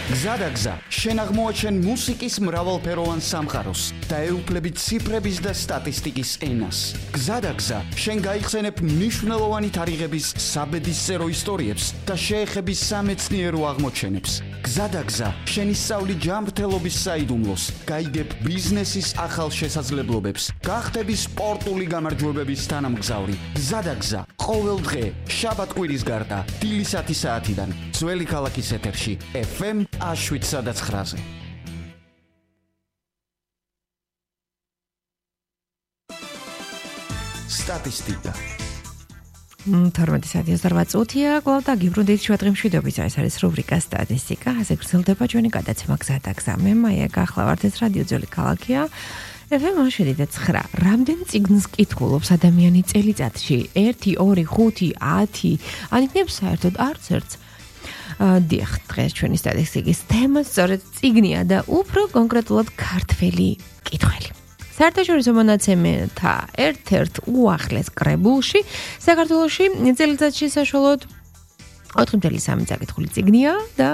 გზადაგზა, შენ აღმოაჩენ მუსიკის მრავალფეროვან სამყაროს და ეუფლები ციფრების და სტატისტიკის ენას. გზადაგზა, შენ გაიხსენებ მნიშვნელოვანი თარიღების საბედისწერო ისტორიებს და შეეხები სამეცნიერო აღმოჩენებს. გზადაგზა, შენ ისწავლი ჯანმრთელობის საიდუმლოს, გაიგებ ბიზნესის ახალ შესაძლებლობებს, გახდები სპორტული გამარჯვებების თანამგზავრი. გზადაგზა, ყოველ დღე, შაბათ-კვირის გარდა, დილის 10 საათიდან, ძველი ქალაქის ეთერში, FM 7-9-ზე. სტატისტიკა 18:08 კლავ და გიბრუნდით შუადღემშვიდობის, ეს არის რუბრიკა სტატისტიკა, ასე გრძელდება ჩვენი გადაცემა გზადაგზა. მე მაია გახლავართ, ეს რადიო ძველი ქალაქია. FM 7-9. რამდენ წიგნს კითხულობს ადამიანი წელიწადში? 1, 2, 5, 10? ან იქნებ საერთოდ არც ერთს? დიახ, დღეს ჩვენი სტატისტიკის თემა სწორედ წიგნია და უფრო კონკრეტულად ქართველი კითხველი. საერთაშორისო მონაცემთა ერთ-ერთ უახლეს კრებულში საქართველოში წელიწადში საშუალოდ 4.3 წაკითხული წიგნია და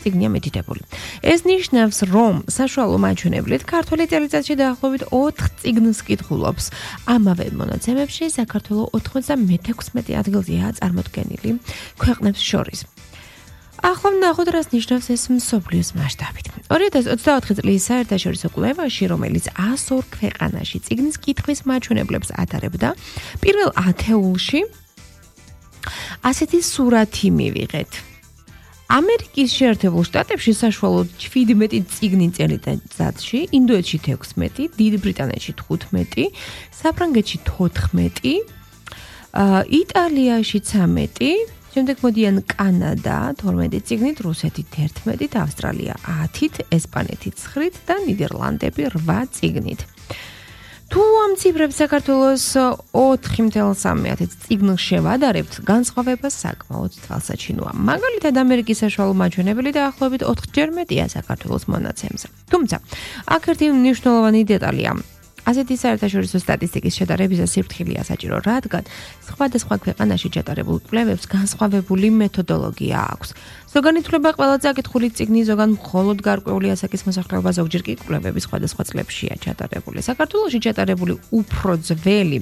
წიგნია მედიტებული. ეს ნიშნავს, რომ საშუალო მაჩვენებლით ქართველი წელიწადში დაახლოებით 4 წიგნს კითხულობს. ამავე მონაცემებში საქართველო 96 ადგილზეა წარმოდგენილი ქვეყნებს შორის. ახლა ნახოთ, რას ნიშნავს ეს მსოფლიოს მასშტაბით. 2024 წლის საერთაშორისო კვლევაში, რომელიც 102 ქვეყანაში წიგნის კითხვის მაჩვენებლებს ატარებდა, პირველ ათეულში ასეთი სურათი მივიღეთ. ამერიკის შეერთებულ შტატებში საშუალოდ 17 წიგნი წელიწადში, ინდოეთში 16, დიდ ბრიტანეთში 15, საფრანგეთში 14, იტალიაში 13, შემდეგ მოდიან კანადა 12 წიგნით, რუსეთი 11, ავსტრალია 10, ესპანეთი 9 და ნიდერლანდები 8 წიგნით. თუ ამ ციფრებს საქართველოს 4.3 წიგნს შევადარებთ, განსხვავება საკმაოდ თვალსაჩინოა. მაგალითად, ამერიკის საშუალო მაჩვენებელი დაახლოებით 4-ჯერ მეტია საქართველოს მონაცემზე. თუმცა, აქ ერთი მნიშვნელოვანი დეტალია. ასეთი საერთაშორისო სტატისტიკის შედარებისა სიფრთხილეა საჭირო, რადგან სხვადასხვა ქვეყანაში ჩატარებულ კვლევებს განსხვავებული მეთოდოლოგია აქვს. ზოგან ითვლება ყველა წაკითხული წიგნი, ზოგან მხოლოდ გარკვეული ასაკის მოსახლეობა, ზოგჯერ კი კვლევები სხვადასხვა წლებშია ჩატარებული. საქართველოში ჩატარებული უფრო ძველი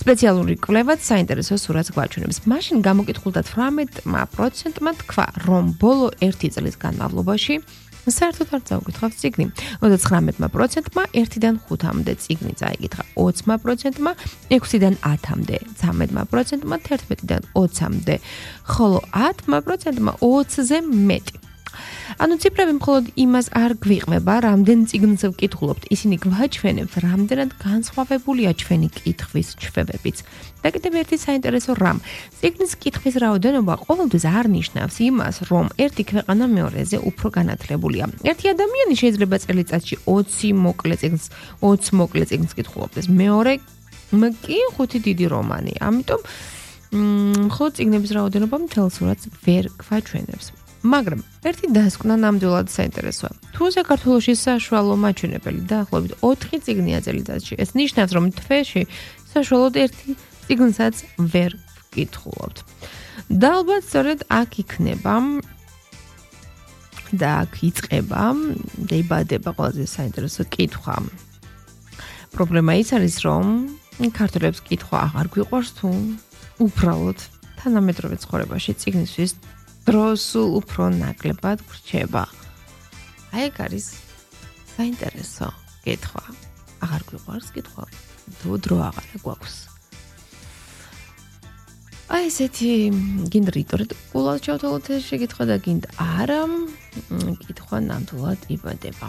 სპეციალური კვლევაც საინტერესო სურათს გვაჩვენებს. მაშინ გამოკითხულთა 18%-მა თქვა, რომ ბოლო 1 წლის განმავლობაში საერთოდ არ წაუკითხავს წიგნი. 39%-მა 1-დან 5-მდე წიგნი წაიკითხა, 20%-მა 6-დან 10-მდე, 13%-მა 11-დან 20-მდე, ხოლო 10%-მა 20-ზე მეტი. ანუ ციფრები მხოლოდ იმას არ გვიყმება, რამდენ წიგნს ვკითხულობთ, ისინი გვაჩვენებს, რამდენად განსხვავებულია ჩვენი კითხვის ჩვევებიც. და კიდევ ერთი საინტერესო რამ, წიგნის კითხვის რაოდენობა ყოველთვის არ ნიშნავს იმას, რომ ერთი ქვეყანა მეორეზე უფრო განათლებულია. ერთი ადამიანი შეიძლება წელიწადში 20 მოკლე წიგნს კითხულობდეს, მეორე კი 5 დიდი რომანი. ამიტომ მხოლოდ წიგნების რაოდენობა მთელ სურათს ვერ გვაჩვენებს. მაგრამ ერთი დასკვნა ნამდვილად საინტერესოა. თუ საქართველოში საშუალო მაჩვენებელი დაახლოებით 4 წიგნია წელიწადში, ეს ნიშნავს, რომ თვეში საშუალოდ 1 წიგნსაც ვერ ვკითხულობთ. და ალბათ სწორედ აქ იქნება და აქ იწყება და იბადება ყველაზე საინტერესო კითხვა. პრობლემა ის არის, რომ ქართველებს კითხვა აღარ გვიყვარს თუ უბრალოდ თანამედროვე ცხოვრებაში წიგნისთვის დრო სულ უფრო ნაკლებად გრჩება. აი ეგ არის საინტერესო კითხვა. აღარ გვიყვარს კითხვა, თუ დრო აღარ გვაქვს. აი ესეთი გინდა რიტორიკულად ჩავთვალოთ ეს შეკითხვა და გინდა არა, კითხვა ნამდვილად იბადება.